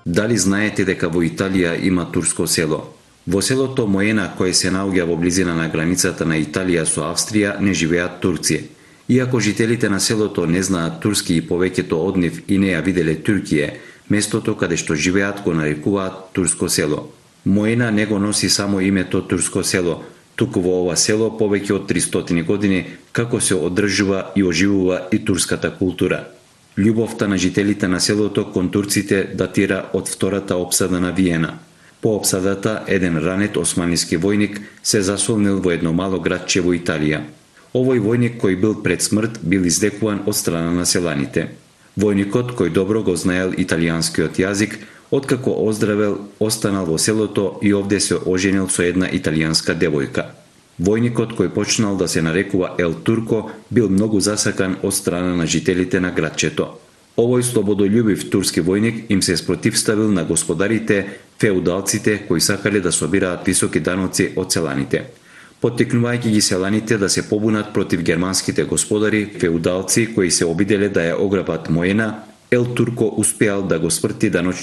Дали знаете дека во Италија има турско село? Во селото Моена, кое се наоѓа во близина на границата на Италија со Австрија, не живеат турци. Иако жителите на селото не знаат турски и повеќето од нив и не ја виделе Туркија, местото каде што живеат го нарекуваат турско село. Моена не го носи само името турско село, туку во ова село повеќе од 300 години како се одржува и оживува и турската култура. Љубовта на жителите на селото кон турците датира од втората опсада на Виена. По опсадата, еден ранет османлиски војник се засолнил во едно мало градче во Италија. Овој војник кој бил пред смрт бил издекуван од страна на селаните. Војникот, кој добро го знаел италијанскиот јазик, откако оздравел, останал во селото и овде се оженил со една италијанска девојка. Војникот, кој почнал да се нарекува Ел Турко, бил многу засакан од страна на жителите на градчето. Овој слободолюбив турски војник им се спротивставил на господарите, феудалците кои сакале да собираат високи даноци од селаните. Поттикнувајќи ги селаните да се побунат против германските господари, феудалци кои се обиделе да ја ограбат Моена, Ел Турко успеал да го сврти даночниот